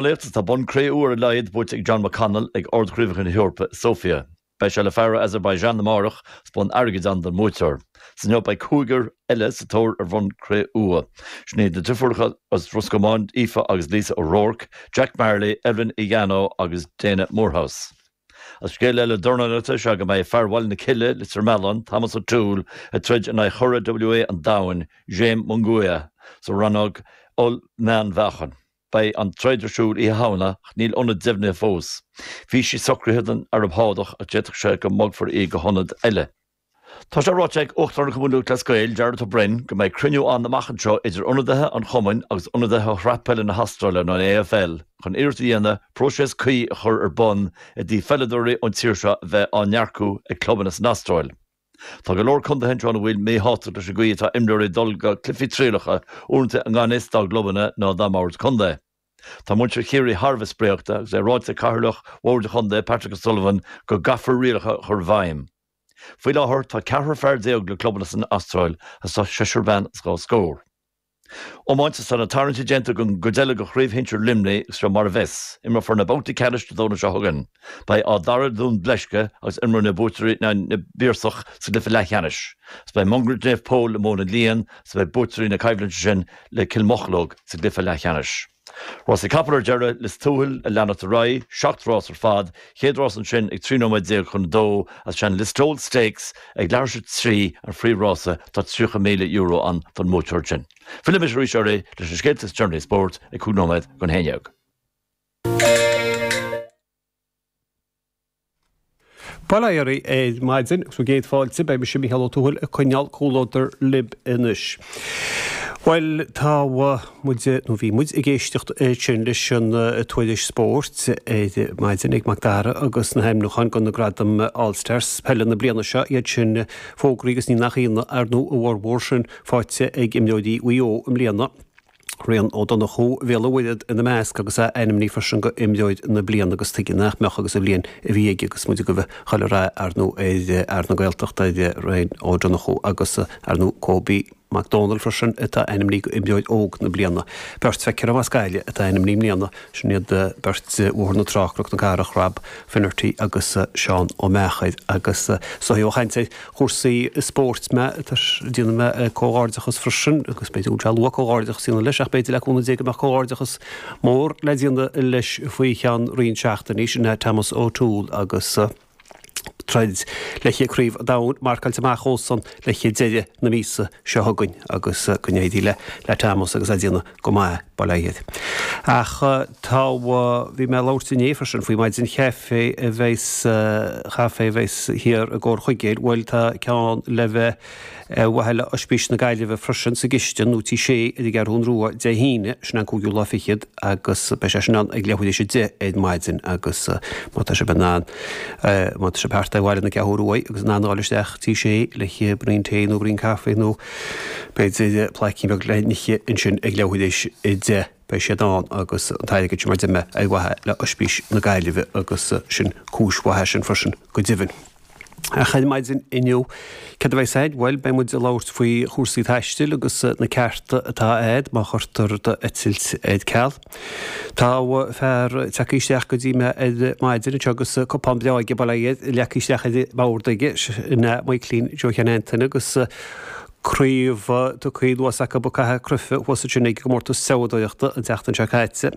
Dornálaíocht Tá bonn cré-umha ar a laghad buaite ag John McConnell ag Ard-Chraobhacha na hEorpa i Sofia. Beidh sé le fear ó Azerbaijan amárach is bonn airgid ann don mbuaiteoir. Is inniu beidh cúigear eile sa tóir ar bhonn cré-umha. Sin iad na deirfiúracha as Ros Comáin, Aoife agus Lisa O'Rourke, Jack Marley, Evelyn Egano agus Dana Moorhouse. Agus scéal eile dornálaíochta is ea go mbeidh fear Bhaile na Cille, Leitir Mealláin, Thomas O'Toole, ag troid in aghaidh churadh WA an domhain, Jaime Munguia, sa rannóg oll-mheánmheáchan. Beidh an troid ar siúl Oíche Shamhna ach níl ionad deimhnithe fós. Bhí sí socraithe don Araib Shádach ach d'fhéadfadh sé go mbogfar í go hionad eile. Tá sé ráite ag Uachtarán Chumann Lúthchleas Gael, Jarlath Ó Broin, go mbeidh cruinniú ann amach anseo idir ionadaithe an chumainn agus ionadaithe Shraith Peile na hAstráile nó an AFL chun iarracht a dhéanamh próiseas cuí a chur ar bun i dtaobh pheileadóirí ón tír seo a bheith á n-earcú ag clubanna san Astráil. Tá go leor contaetha anseo ina bhfuil míshástacht leis an gcaoi atá imreoirí ag dul go cluichí trialacha, uaireanta i ngan fhios dá gclubanna ná dá mboird contae. Tá muintir Chiarraí thar a bheith spréachta agus é ráite ag cathaoirleach bhord an chontae, Patrick O'Sullivan, go gcaithfear rialacha a chur i bhfeidhm. Faoi láthair tá ceathrar fear le clubanna san Astráil agus tá seisear bean is dhá scór. Iomáint, Tá na tarraingtí déanta don gcuid eile de Chraobh Shinsir Luimnigh agus seo mar a bheas. Imreofar na babhtaí ceannais Dé Domhnaigh seo chugainn. Beidh Áth Dara Dún Bleisce agus imreoidh na buaiteoirí in aghaidh na bPiarsach sa gcluiche leathcheannais. Agus beidh Mungairit Naomh Pól le Móin na Lian agus beidh buaiteoirí na coimhlinte sin le Cill Mocheallóg sa gcluiche leathcheannais. Rásaí capall ar deireadh, Lios Tuathail ag leanacht ar aghaidh, 7 rás ar fad, chéad rás ansin ag 13 nóiméad chun 2 agus sé an Listowel Stakes ag leathuair tar éis 3 an phríomhrása, tá €30,000 ann don mbuaiteoir sin. Fillfidh mise arís oraibh leis na scéalta is deireanaí spóirt ag 5 nóiméad don 11. Bail ó Dhia oraibh ar maidin agus bhur gcéad fáilte. Beidh mise, Mícheál Ó Tuathail, ag coinneáil comhluadar libh anois. Bhuel, tá muid, nó bhí muid, ag éisteacht ansin leis an tuairisc spóirt ar maidin ag Mac Dara agus na hainmniúcháin do na gradaim All Stars peile na bliana seo, iad sin fógraithe agus ní nach ionadh, ar ndóigh, a bhformhór sin faighte ag imreoirí Mhaigh Eo i mbliana. Rian Ó Donnchú Bhéal an Mhuirthead ina measc agus é ainmnithe freisin go Imreoir na Bliana agus tuige nach mbeadh agus an bhliain a bhí aige agus muid ag gabháil a chuile rath ar ndóigh ar fhear na Gaeltachta ar Rian Ó Donnchú agus ar ndóigh Kobe Mac Dónaill freisin atá ainmnithe go Imreoir Óg na Bliana. Beirt feictear as Gaillimh atá ainmnithe i mbliana, sin iad beirt Bhóthar na Trá, Cnoc na Cathrach, Rob Finnerty agus Seán Ó Meachair agus so ó chaint ar chúrsaí spóirt mé, déanfaidh mé comhghairdeachas freisin, agus b'fhéidir go bhfuil sé luath comhghairdeachas a dhéanamh leis, ach b'fhéidir le cúnamh Dé go mbeadh comhghairdeachas mór le déanamh leis faoi cheann roinnt seachtainí, sin é Thomas O'Toole agus troid le haghaidh Craobh an Domhain marcáilte amach dhósan le haghaidh deireadh na míosa seo chugainn agus go n-éirí le le Thomas agus é ag déanamh go maith, bail ó Dhia air. Ach tá, bhí mé ag labhairt inné freisin faoi maidin chaife a bheas, chaife a bheas thiar i gComhar Chuigéil, bhuel tá ceann le bheith ar mhaithe le Oispís na Gaillimhe freisin sa gcistin nó Tigh Sé ar an gCeathrún Rua Dé hAoine, sin an cúigiú lá fichead agus beidh sé sin ann ag leathuair théis 10 ar maidin agus má tá sibh in ann, má tá sibh thart ar bhaile na Ceathrún Rua agus in ann a dhul isteach Tigh Sé le braon tae nó braon caife nó B'fhéidir plaicín beag le n-ithe ansin ag leathuair théis 10. Beidh siad ann agus an t-airgead sin mar deir mé ar mhaithe le Oispís na Gaillimhe agus sin cúis mhaith é sin freisin go deimhin. Ach ar maidin inniu, céard a bheas againn? Bhuel, beidh muid ag labhairt faoi chúrsaí taistil agus na cearta atá agat má chuirtear d'eitilt ar ceal. Tá fear tagtha isteach go dtí mé ar maidin anseo agus cupán breá aige, bail ó Dhia air, leagtha isteach ar an mbord aige, sin é Michaelín Joe Sheáin Antaine agus craobh tugtha anuas acu ag caitheamh cruife thuas ansin ag an gcomórtas treabhadóireachta an tseachtain seo caite.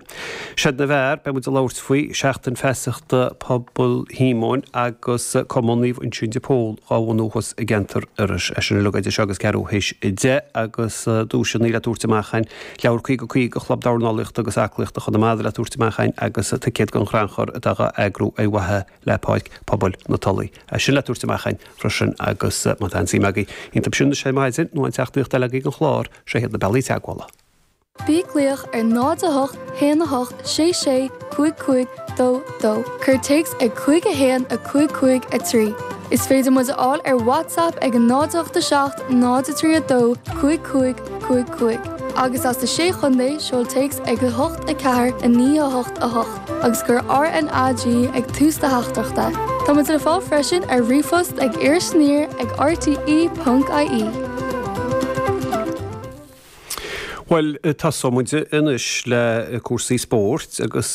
Seid na bhFear, beidh muid ag labhairt faoi Seachtain Feasachta Pobal Shíomóin agus Cumann Naomh Uinseann de Pól dhá bhunú thuas i gceantar Iorrais. É sin uilig idir seo agus ceathrú théis 10 agus duaiseanna le tabhairt amach againn, leabhar 50 50 Chlub Dornálaíochta agus Aclaíochta Chonamara le tabhairt amach againn agus ticéad don chrannchur atá dhá eagrú ar mhaithe le Páirc Pobail na Tulaí. É sin le tabhairt amach againn freisin agus má tá aon suim agaibh iontu sin anois ar maidin nó aon teachtaireacht eile agaibh don chlár, seo iad na bealaí teagmhála. Bí ag glaoch ar 0 8 1 8 6 6 5 5 2 2. Cuir téacs ag 5 1 5 5 3. Is féidir muid a fháil ar WhatsApp ag 0 8 7 0 3 2 5 5 5 5. Agus as na Sé Chontae, seol téacs ag 8 4 9 8 8. agus cuir RNAG ag tús do theachtaireachta. Tá muid le fáil freisin ar ríomhphost ag irisaniar ag rte.ie. Bhuel, tosóidh muid anois le cúrsaí spóirt agus.